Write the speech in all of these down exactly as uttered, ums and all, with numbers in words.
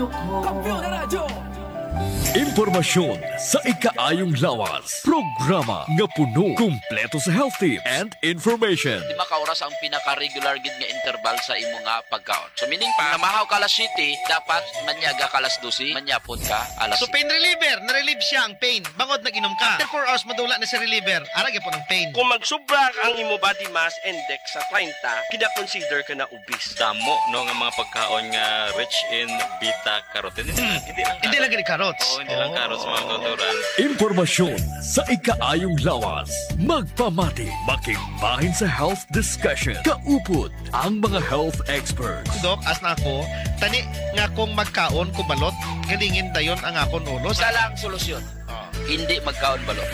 Kampiyon na Radyo. Impormasyon sa ikaayong lawas. Programa nga puno, kumpleto sa health tips and information. Di makaoras ang pinaka-regular gid nga interval sa imo nga pagkaon. So, meaning pa, namahaw ka alas siyete, dapat manyaga ka alas dose, manyapon ka alas So, siyete. Pain reliever, na-relieve siya ang pain. Bangod nag-inom ka. After four hours, madula na si reliever. Ara gyapon ang pain. Kung magsubra ang imo body mass index sa treinta, kina-consider ka na obese. Damo, no, nga mga pagkaon nga rich in beta carotene. Hindi lang, hindi lang gani carrots. Oo, hindi lang carrots, mga kauturan. Impormasyon sa ikaayong lawas. Magpamati, makigbahin sa health discussion. Kaupod ang mga health experts. Dok, as na ako, tani nga kung magkaon ko balot, galingin dayon ang akon ulo. Isa lang solusyon. Oh. Hindi magkaon balot.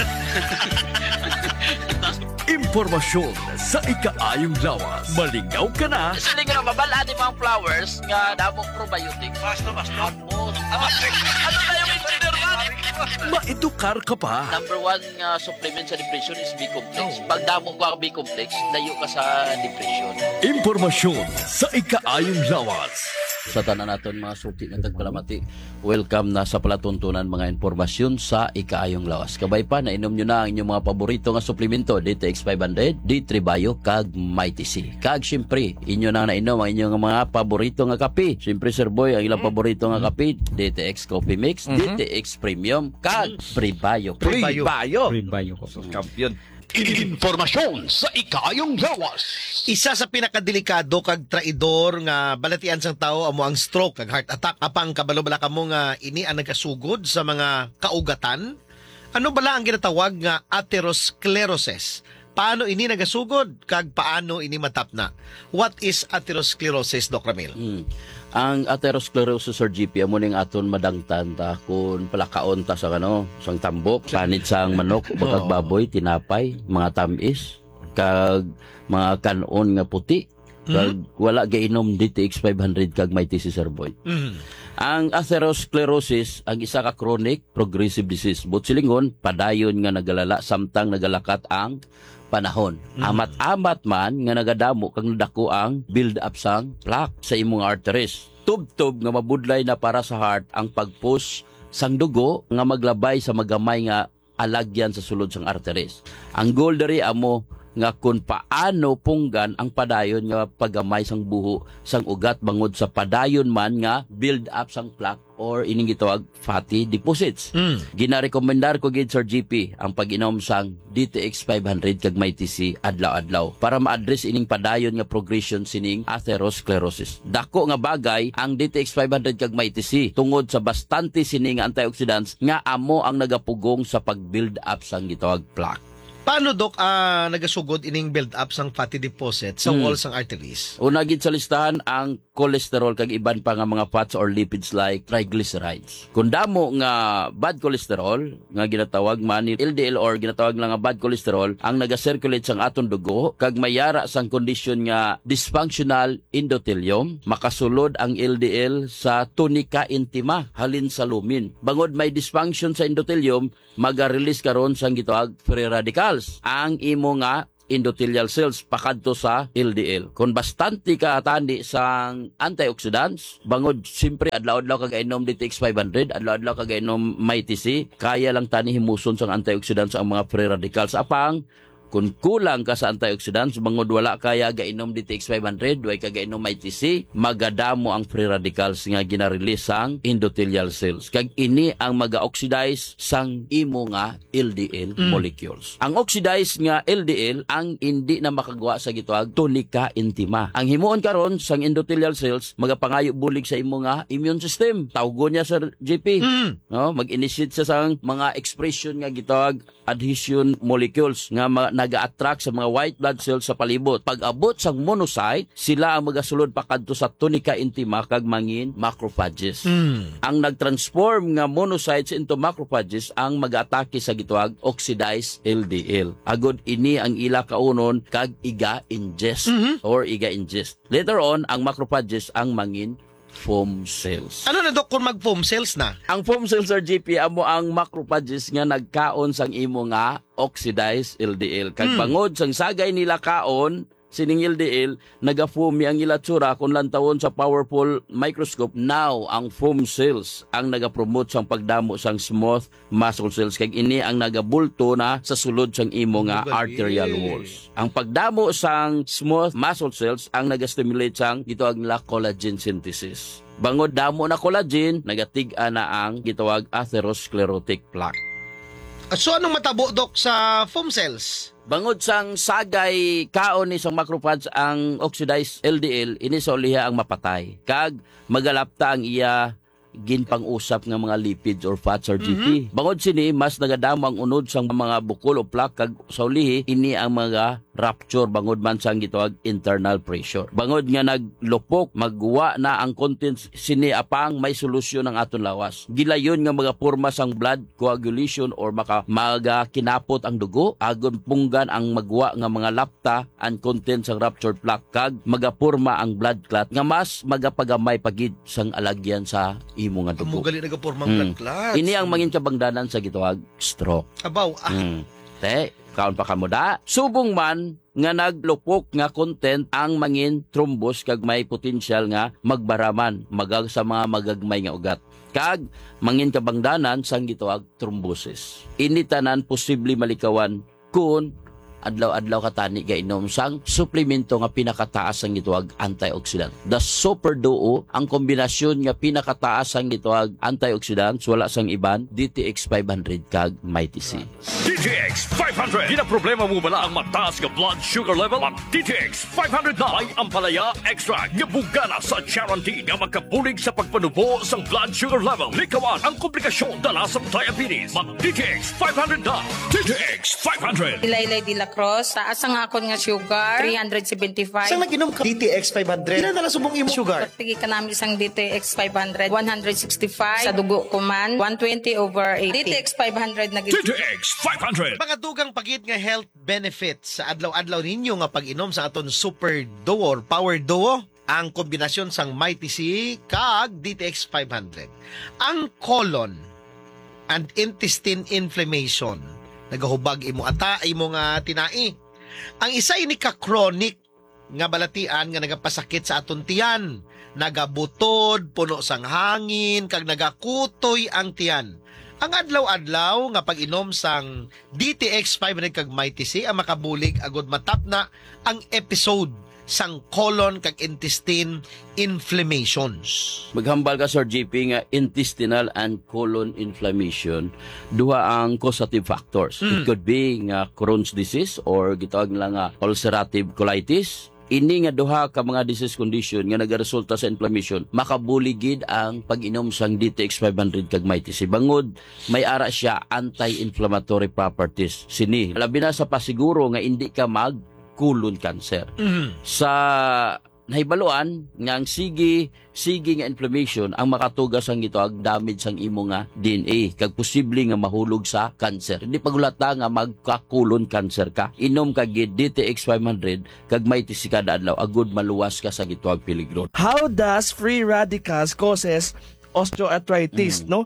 Impormasyon sa ikaayong lawas. Malingaw ka na. Siling nga mabal-an ni mga flowers nga damong probiotic. Basta, basta. Ano na yung engineer man? Maedukar ka pa. Number one nga supplement sa depression is B-complex. Oh. Pag damo ka B-complex, layo ka sa depression. Impormasyon sa ikaayong lawas. Sa tanan naton mga suki nga tagpalamati, welcome na sa palatuntunan mga impormasyon sa ikaayong lawas. Kabay pa, nainom nyo na ang inyong mga paborito nga suplemento, D T X five hundred, D three Bio, kag Mighty C. Kag siyempre, inyo na nainom ang inyong mga paborito nga kape. Siyempre, Sir Boy, ang ilang paborito nga kape, D T X Coffee Mix, Mhm. D T X Premium, kag Prebio. Prebio. Prebio. Prebio ko. Sus, kampiyon. Impormasyon sa ikaayong lawas. Isa sa pinakadelikado kag traidor nga balatian sang tawo amo ang stroke kag heart attack. Apang kabalo bala kamo nga ini ang nagasugod sa mga kaugatan? Ano bala ang ginatawag nga atherosclerosis? Paano ini nagasugod kag paano ini matapna? What is atherosclerosis, Doc Ramil? Hmm. Ang atherosclerosis, Sir G P, amo ning aton madangtan ta kung palakaon ta sa, ano, sang tambok, panit sang manok, bakag Oo. baboy, tinapay, mga tamis, kag mga kan-on nga puti, kag Mhm. wala gainom D T X five hundred kag Mighty C, Sir Boy. Mhm. Ang atherosclerosis, ang isa ka chronic progressive disease. Buot silingon, padayon nga nagalala samtang nagalakat ang panahon. Mhm. Amat-amat man nga nagadamo kag nadako ang build-up sang plaque sa imong arteries. Tubtob nga mabudlay na para sa heart ang pag-push sang dugo nga maglabay sa magamay nga alagyan sa sulod sang arteries. Ang goal diri amo nga kung paano punggan ang padayon nga paggamay sang buho sang ugat bangod sa padayon man nga build-up sang plaque or ining gitawag fatty deposits. Mm. Ginarekomendar ko gid, Sir G P, ang pag-inom sang D T X five hundred kag Mighty C adlaw-adlaw para ma-address ining padayon nga progression sining atherosclerosis. Dako nga bagay ang D T X five hundred kag Mighty C tungod sa bastante sini nga antioxidants nga amo ang nagapugong sa pag-build up sang gitawag plaque. Paano, Doc, ah, nagasugod ining build up sang fatty deposit sa Hmm. wall sang arteries? Una gid sa listahan ang cholesterol kag iban pa nga mga fats or lipids like triglycerides. Kung damo nga bad cholesterol, nga ginatawag man ni L D L or ginatawag lang nga bad cholesterol, ang naga-circulate sang aton dugo, kag may yara sang kondisyon nga dysfunctional endothelium, makasulod ang L D L sa tunica intima halin sa lumen. Bangod may dysfunction sa endothelium, maga-release karon sang gitawag free radicals ang imo nga endothelial cells pakadto sa L D L. Kung bastante ka tani sang antioxidants, bangod siyempre adlaw-adlaw ka gainom D T X five hundred, adlaw-adlaw ka gainom Mighty C, kaya lang tani himuson sang antioxidants ang mga free radicals. Apang, kung kulang ka sa antioxidants, bangod wala kaya gainom D T X five hundred, way ka gainom Mighty C, magadamo ang free radicals nga gina-release sang endothelial cells. Kag ini ang maga-oxidize sang imo nga L D L Mm. molecules. Ang oxidized nga L D L ang indi na makagwa sa gitawag tunica intima. Ang himuon karon sang endothelial cells magapangayo bulig sa imo nga immune system. Tawgon niya, Sir J P. Mm. No, mag-initiate siya sang mga expression nga gitawag adhesion molecules nga ma-, naga-attract sa mga white blood cells sa palibot. Pag-abot sang monocyte, sila ang magasulod pa kadto sa tunica intima kag mangin macrophages. Mm. Ang nag-transform nga monocytes into macrophages ang mag-atake sa gitawag oxidized L D L. Agod ini ang ila kaunon kag iga-ingest Mhm. or iga-ingest. Later on, ang macrophages ang mangin foam cells. Ano na, Doc, kung mag-foam cells na? Ang foam cells, Sir J P, amo ang macrophages nga nagkaon sang imo nga oxidized L D L. Kag Hmm. bangod sang sagay nila kaon, Sining L D L, naga-foamy ang ila tsura kon lantawon sa powerful microscope. Now, ang foam cells ang nagapromote sang pagdamo sang smooth muscle cells, kag ini ang nagabulto na sa sulod sang imo nga Bugaling. arterial walls. Ang pagdamo sang smooth muscle cells ang nagastimulate sang gitawag nila collagen synthesis. Bangod damo na collagen, nagatig-a na ang gitawag atherosclerotic plaque. Ah, so anong matabo, Doc, sa foam cells? Bangod sang sagay kaon ni sang macrophage ang oxidized L D L, ini sa uliha ang mapatay. Kag magalapta ang iya ginpang-usap nga mga lipids or fats or G P. Mhm. Bangod sini, mas nagadamo ang unod sang mga bukol o plaque, kag sa ulihi, ini ang mga rupture bangod man sang gitawag internal pressure. Bangod nga naglupok, magwa na ang contents sini, apang may solusyon ang aton lawas. Gilayon nga magaporma sang blood coagulation or maka-, magakinapot ang dugo, agod punggan ang magwa nga mga lapta and content sang ruptured plaque, kag magaporma ang blood clot nga mas magapagamay pa gid sang alagyan sa imo nga Amo dugo. gali nagaporma ang Hmm. blood clots. Ini ang Mm. mangin kabangdanan sa gitawag stroke. Abaw, ah. Hmm. Te, kaon pa kamo da. Subong man nga naglupok nga content ang mangin thrombus kag may potensyal nga magbaraman magag sa mga magagmay nga ugat. Kag mangin kabangdanan sang gitawag thrombosis. Ini tanan posible malikawan kun adlaw-adlaw ka tani gainom sang suplemento nga pinakataas sang gitawag antioxidant. The Super Duo, ang kombinasyon nga pinakataas sang gitawag antioxidants, wala sang iban, D T X five hundred kag Mighty C. D T X five hundred. Ginaproblema mo bala ang mataas nga blood sugar level? Mag D T X five hundred na. May ampalaya extract nga bugana sa charantin nga makabulig sa pagpanubo sang blood sugar level. Likawan ang komplikasyon dala sa diabetes. Mag D T X five hundred na. D T X five hundred. Ilaylay de la Cruz, taas ang akon nga sugar, three hundred seventy-five. Sang nag-inom ka D T X five hundred? Pila na lang subong imo sugar? Pagtigi ka namin sang D T X five hundred, one hundred sixty-five. Sa dugo ko man, one twenty over eighty. D T X five hundred na gid. D T X five hundred. Mga dugang pa gid nga health benefits sa adlaw-adlaw ninyo nga pag-inom sa aton Super Duo or Power Duo, ang kombinasyon sang Mighty C kag D T X five hundred. Ang colon and intestine inflammation, nagahubag imo ata, imo nga tinai. Ang isa ini ka chronic nga balatian nga nagapasakit sa aton tiyan, nagabutod, puno sang hangin, kag nagakutoy ang tiyan. Ang adlaw-adlaw nga pag-inom sang D T X five hundred kag Mighty C ang makabulig agud matapna ang episode sang colon kag intestine inflammations. Maghambal ka, Sir G P, nga intestinal and colon inflammation, duha ang causative factors. It Mm. could be nga Crohn's disease or gitawag nila nga ulcerative colitis. Ini nga duha ka mga disease condition nga nagaresulta sa inflammation, makabulig gid ang pag-inom sang D T X five hundred kag Mighty C. Bangod may ara siya anti-inflammatory properties sini. Labi na sa pasiguro nga indi ka mag colon cancer. Mhm. Sa nahibaluan nga ang sige, sige nga inflammation ang makatuga sang gitawag damage sang imo nga D N A, kag posible nga mahulog sa cancer. Hindi paghulata nga magka-colon cancer ka. Inom ka gid D T X five hundred kag Mighty C kada adlaw, agud maluwas ka sa gitawag peligro. How does free radicals causes osteoarthritis, Mm. no?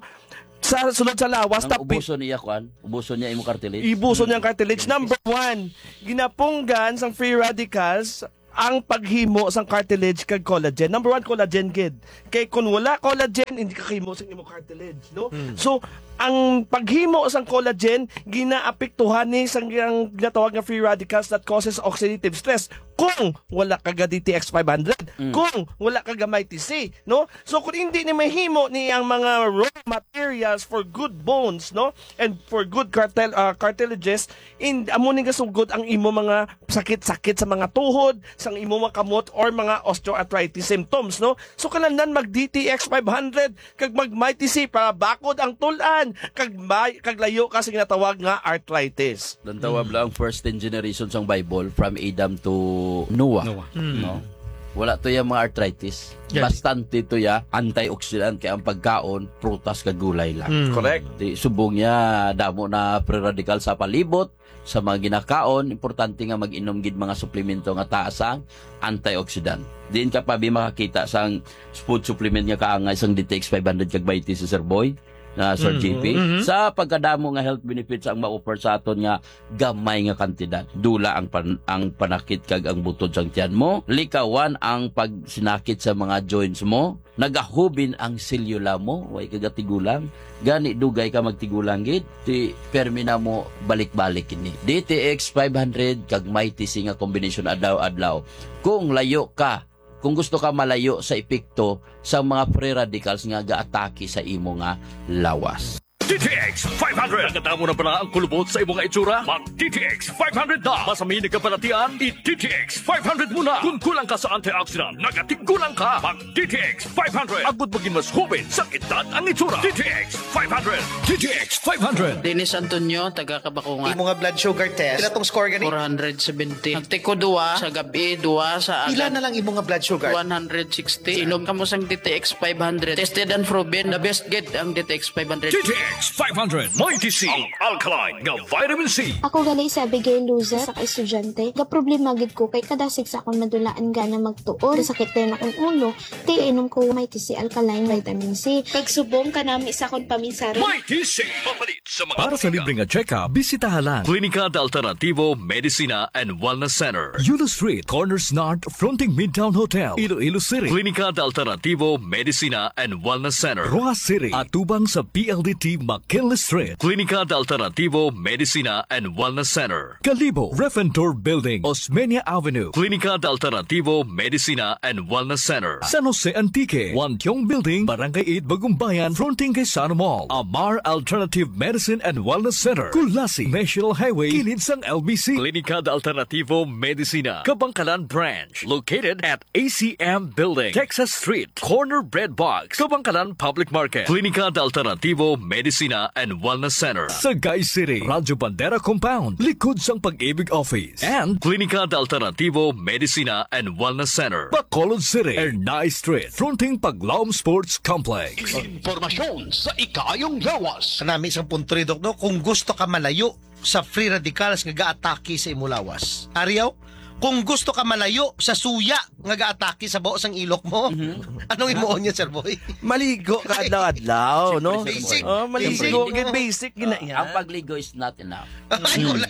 Sa sulod sa lawas, Ang tapi- ubuson niya, kuan? Ubuson niya imo cartilage? Ibuson niya ang cartilage. Mm. Number one, ginapunggan sang free radicals ang paghimo sang cartilage kag collagen. Number one, collagen gid. Kay kung wala collagen, hindi ka kahimo sang imo cartilage, no? Hmm. So, ang paghimo sang collagen, ginaapektuhan ni sang, ang ginatawag nga free radicals that causes oxidative stress. Kung wala ka ga D T X five hundred, Hmm. kung wala ka ga Mighty C, no? So, kung hindi ni mahimo ni ang mga raw materials for good bones, no? And for good cartil-, ah, cartilages, in, amo ni gasugod ang imo mga sakit-sakit sa mga tuhod, sang imo mga kamot, or mga osteoarthritis symptoms, no? So, kinahanglan mag D T X five hundred, kag mag Mighty C para bakod ang tul-an, kag may, kag layo ka sa ginatawag nga arthritis. Lantawa Mm. lang first ten generation sang Bible, from Adam to Noah. Noah. Mm. No? Wala to yung mga arthritis. Yes. Bastante to ya antioxidant, kaya ang pagkaon, prutas kag gulay lang. Mm. Correct. Di, subong niya, damo na free radical sa palibot, sa mga ginakaon, importante nga mag-inom gid mga suplemento nga taas ang antioxidant. Diin ka pa bi makakita sang food supplement nga kaangay sang D T X five hundred kag Mighty C, Sir Boy? na, Sir Mm. J P, Mhm. sa pagkadamo nga health benefits ang ma-offer sa aton nga gamay nga kantidad. Dula ang pan-, ang panakit kag ang butod sang tiyan mo, likawan ang pagsinakit sa mga joints mo, nagahubin ang selula mo, way ka gatigulang, gani dugay ka magtigulang gid, ti permi na mo balik-balik ini. D T X five hundred kag Mighty C nga kombinasyon adlaw-adlaw. Kung layo ka, kung gusto ka malayo sa epekto sa mga free radicals nga gaatake sa imo nga lawas. D T X five hundred. Nakatamo na bala ang kulubot sa imo nga itsura? Mag D T X five hundred na. Masami nagkabalatian, i D T X five hundred mo na. Kung kulang ka sa antioxidant, nagatigulang ka. Mag D T X five hundred. Agud maging mas hubin sa edad ang itsura. D T X five hundred. D T X five hundred. Dennis Antonio, taga Kabakungan. Imo nga blood sugar test, pila tong score gani? Four hundred seventy. Nagtiko duwa sa gabi, duwa sa Pila aga. Na lang imo nga blood sugar? One hundred sixty. Inom kamo sang D T X five hundred. Tested and proven. The best gid ang D T X five hundred. D T X five hundred. Mighty C, ang alkaline nga vitamin C. Ako gali si Abigail Luzet, sa ka-estudyante. Gaproblema gid ko kay kadasig sa akon madulaan gana magtuon. Kasakit dayon akong ulo. Ti inom ko Mighty C alkaline vitamin C. Kag subong kanami sa akon paminsaron. Mighty C, mapalit sa mga Para sa botika. Libre nga check-up, bisitaha lang Klinika de Alternativo Medicina and Wellness Center. Yulo Street, Corners North, fronting Midtown Hotel, Iloilo City. Klinika de Alternativo Medicina and Wellness Center. Roxas City, atubang sa P L D T McKinley Street. Klinika de Alternativo Medicina and Wellness Center. Kalibo, Refentor Building, Osmeña Avenue. Klinika de Alternativo Medicina and Wellness Center. San Jose Antique, Wantiong Building, Barangay eight, Bagumbayan, fronting kay Sano Mall. Amar Alternative Medicine and Wellness Center, Culasi, National Highway, kilid sang L B C. Klinika de Alternativo Medicina, Kabangkalan Branch, located at A C M Building, Texas Street, corner Bread Box, Kabangkalan Public Market. Klinika de Alternativo Medicina and Wellness Center, Sagay City, Radyo Bandera Compound, likod sang Pag-ibig Office. And Klinika de Alternativo Medicina and Wellness Center, Bacolod City, Ernai Street, fronting Paglaom Sports Complex. Impormasyon sa ikaayong lawas. Kanami sang punto ri, Doc, no? Kung gusto ka malayo sa free radicals nga gaatake sa imo lawas. Ariaw, kung gusto ka malayo sa suya nga gaatake sa bao sang ilok mo, Mhm. Anong imo niya, Sir Boy? Maligo ka adlaw-adlaw, no? Siyempre, basic. Oh, maligo, Basic. Basic, gid, basic, gid na Ah, yan. Ang pagligo is not enough. Ay, wala.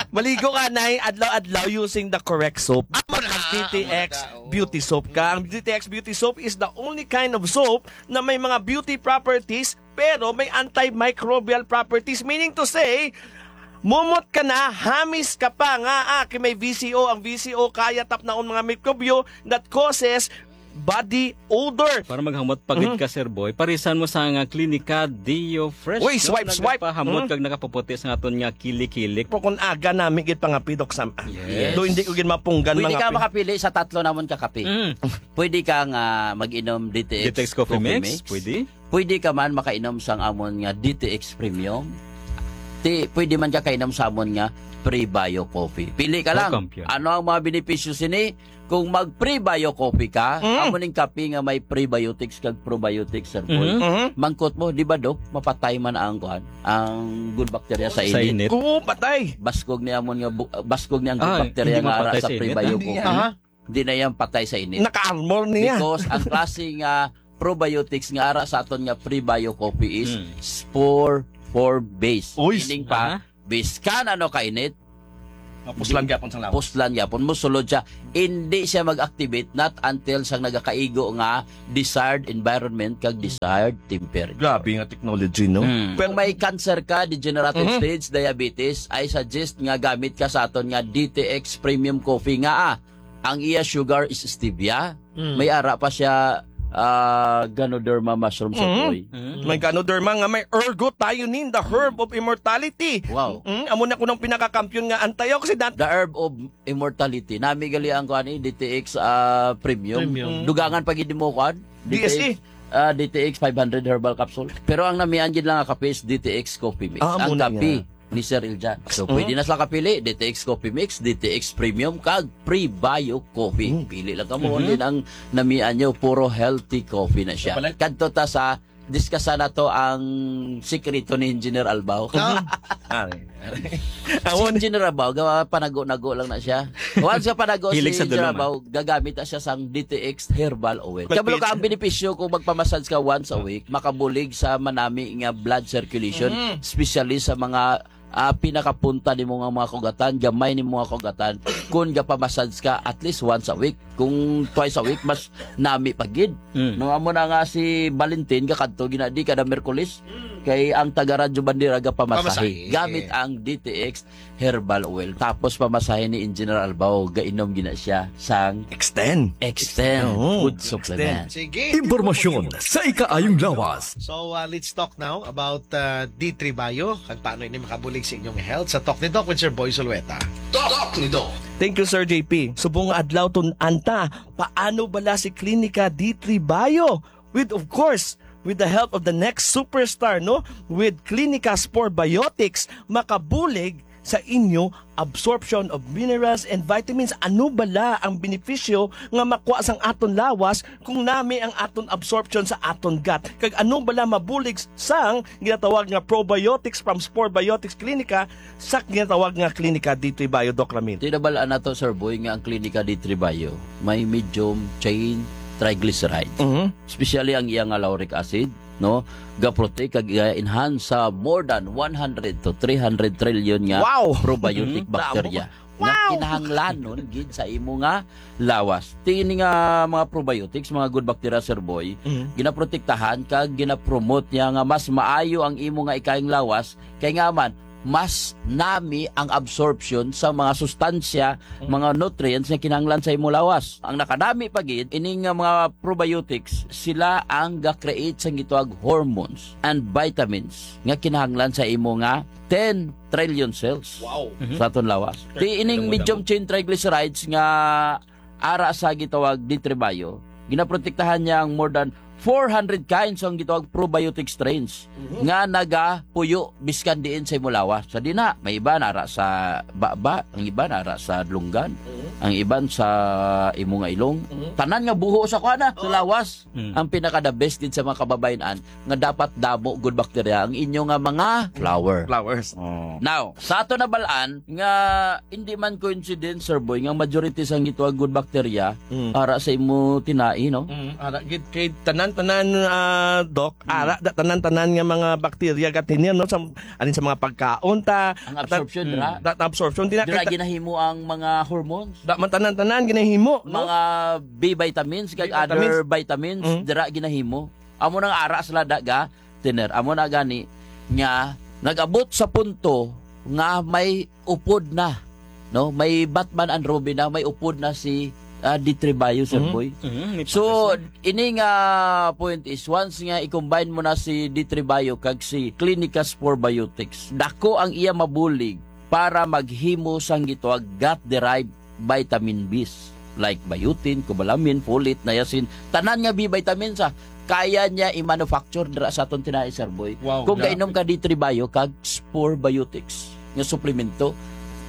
Maligo ka na adlaw-adlaw using the correct soap. Amo na, Mag D T X amo na ka, oo. Beauty Soap ka. Ang D T X Beauty Soap is the only kind of soap na may mga beauty properties, pero may antimicrobial properties. Meaning to say, mumot ka na, hamis ka pa nga, ah, kay may V C O. Ang V C O kaya tapnaon mga mikrobyo that causes body odor. Para maghamot pa gid Mhm. ka, Sir Boy, parisan mo sa nga Klinika Deo Fresh, Uy, no? Swipe, swipe. Nagapahamot Mhm. kag nakapuputi sa aton nga kilik-kilik. Pero kung aga nami gid pangapidok sa Yes. Do hindi ko gid mapunggan Pwede mga ka pi- makapili sa tatlo namon ka kape. Mm. Pwede ka nga mag-inom D T X D T X Coffee Coffee Mix, Mix. Pwede. Pwede ka man makainom sang amon nga D T X Premium. Ti, pwede man ka kainom sa amon nga Prebio Coffee. Pili ka Oh, lang. Kampiyon. Ano ang mga benepisyo sini? Kung mag Prebio Coffee ka, Mm. amo ning kape nga may prebiotics kag probiotics, Sir Boy. Mhm. Mhm. Mangkot mo, di ba, Dok? Mapatay man ang kuan, ang good bacteria sa Sa init. init. Oo, patay. Baskog ni amon nga bu-, baskog ni ang good Ah, bacteria hindi nga ara mapatay sa sa init, Prebio ah. Coffee. Aha. Di na yan patay sa init. Naka-armor niya. Because ang klase nga probiotics nga ara sa aton nga Prebio Coffee is Hmm. spore, spore base. Uy. Meaning pa, Aha. biskan ano kainit, Mapuslan di-, gyapon sang lawas. Puslan gyapon, musulod siya. Hindi siya mag-activate not until sang nagakaigo nga desired environment kag desired temperature. Grabe nga technology, no? Hmm. Pero kung may cancer ka, degenerative Mhm. stage, diabetes, I suggest nga gamit ka sa aton nga D T X Premium Coffee nga, ah, ang iya sugar is stevia. Mm. May ara pa siya, ah, Ganoderma mushroom, Sir Mhm. Boy. Mm. May Ganoderma nga may ergothioneine, the herb of immortality. Wow. Mm, amo na kuno ang pinakakampiyon nga antioxidant. The herb of immortality. Nami gali ang kuan ni D T X, ah, premium. Premium. Dugangan pa gid mo kuan. D S E. D T X, ah, D T X five hundred herbal capsule. Pero ang namian gid lang nga kape is D T X Coffee Mix. Ah, amo Ang na kape nga. ni Sir Iljan. So, Mhm. pwede na sila kapili, D T X Coffee Mix, D T X Premium, kag Prebio Coffee. Mhm. Pili lang kamo, Mhm. din ang namian nyo, puro healthy coffee na siya. Kapalit. Kadto ta sa Diskasa na to ang sikreto ni Engineer Albao. Ah. Ari, ari. Si Engineer Albao, ga-, panago-nago lang na siya. Once nga panago si Hilig sa Engineer dulom, ah. Albao, gagamit na siya sang D T X herbal oil. Kabalo ka, ang benepisyo kung magpamassage ka once a week, makabulig sa manami nga blood circulation, especially sa mga, ah, pinakapunta nimo nga mga kugatan, gamay nimo nga kugatan, kung gapamassage ka at least once a week. Kung twice a week, mas nami pa gid. Mm. No, amo na nga si Valentin, kakadto gina di kada Miyerkules, kay ang taga Radyo Bandera gapamasahe. Pamasahe. Gamit ang D T X herbal oil. Tapos pamasahe ni Engineer Albao, gainom gina siya sang Extend. Extend Oo. Food Extend. Supplement. Sige. Impormasyon sa ikaayong lawas. So, uh, let's talk now about, uh, D three Bio, kag paano ini makabulig sa inyong health sa Talk ni Doc with Sir Boy Zulueta. Talk ni Doc. Thank you, Sir J P. Subong nga adlaw, tun-an ta, paano bala si Klinika D three Bio? With, of course, with the help of the next superstar, no? With Klinika Spore Biotics, makabulig sa inyo absorption of minerals and vitamins. Ano bala ang benepisyo nga makuha sang aton lawas kung nami ang aton absorption sa aton gut? Kag ano bala mabulig sang ginatawag nga probiotics from Spore Biotics Clinica sa ginatawag nga Klinika D three Bio, Doc Ramil? Tinabalaan nato, Sir Boy, nga ang Klinika D three Bio may medium chain triglycerides. Mhm. Especially ang iya nga lauric acid, no? Ga-protect kag ga-enhance sa more than one hundred to three hundred trillion nga Wow! probiotic Mhm. bacteria Damo. nga Wow! kinahanglanon gid sa imo nga lawas. Ti ini nga mga probiotics, mga good bacteria, Sir Boy, Mhm. ginaprotektahan kag ginapromote niya nga mas maayo ang imo nga ikayang lawas, kay nga man, mas nami ang absorption sa mga sustansya, Mm. mga nutrients nga kinahanglan sa imo lawas. Ang nakanami pa gid, ini nga mga probiotics, sila ang ga-create sang gitawag hormones and vitamins nga kinahanglan sa imo nga ten trillion cells Wow. Mhm. sa aton lawas. Sure. Ti ining Damo, medium damo. chain triglycerides nga ara sa gitawag D three Bio, ginaprotektahan niya ang more than four hundred kinds ang gitawag probiotic strains Mhm. nga nagapuyo biskan diin sa imo lawas. Sa dina, may iba nara sa baba, ang iba nara sa dulunggan, Mhm. ang iban sa imo nga ilong. Mhm. Tanan nga buho sa kuana, sa Oo. lawas. Mm. Ang pinaka the best gid sa mga kababayen-an nga dapat damo good bacteria ang inyo nga mga flower. Flowers. Oh. Now, sa ato nabal-an nga hindi man coincidence, Sir Boy, nga majority sang gitawag good bacteria Mm. ara sa imo tinai, no? Mm, ara gid kay tanan-tanan, ah, Doc, Mm. ara da, tanan-tanan nga mga bacteria gatinir, no, sa, alin sa mga pagkaon ta, Ang at, absorption, mm, dira. da, absorption, dira Dira kita ginahimo ang mga hormones. Da man tanan-tanan ginahimo, no? Mga B vitamins kag B vitamins. other vitamins, Mm. dira ginahimo. Amo nang ara sila da ga tiner. Amo na gani nga nag-abot sa punto nga may upod na, no? May Batman and Robin na, may upod na si, ah, D three Bio, Sir Mhm. Boy. Mhm, may So, patas na. ini nga point is, once nga i-combine mo na si D three Bio kag si Clinica Spore Biotics, dako ang iya mabulig para maghimo sang gitawag gut-derived vitamin Bs, like biotin, cobalamin, folate, niacin, tanan nga B vitamins, ah, kaya niya i-manufacture dira sa aton tinai, Sir Boy. Wow, Kung grabe. gainom ka D three Bio kag Spore Biotics nga suplemento,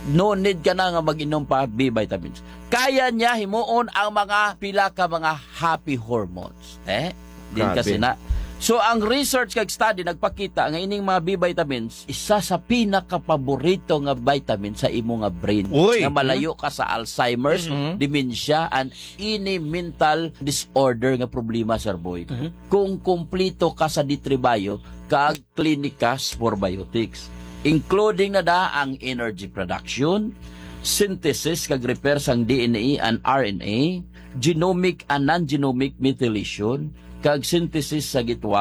no need ka na nga mag-inom pa B vitamins. Kaya niya himuon ang mga pila ka mga happy hormones. Eh? Din Grabe. kasi na. So, ang research kag study nagpakita nga ining mga B vitamins, isa sa pinakapaborito nga vitamin sa imo nga brain. Uy! Nga malayo ka sa Alzheimer's, Mhm. dementia, and any mental disorder nga problema, Sir Boy. Mhm. Kung kumplito ka sa D three Bio, kag Clinica Spore Biotics, including na da ang energy production, synthesis kag repair sang D N A and R N A, genomic and non-genomic methylation, kag synthesis sa gitawag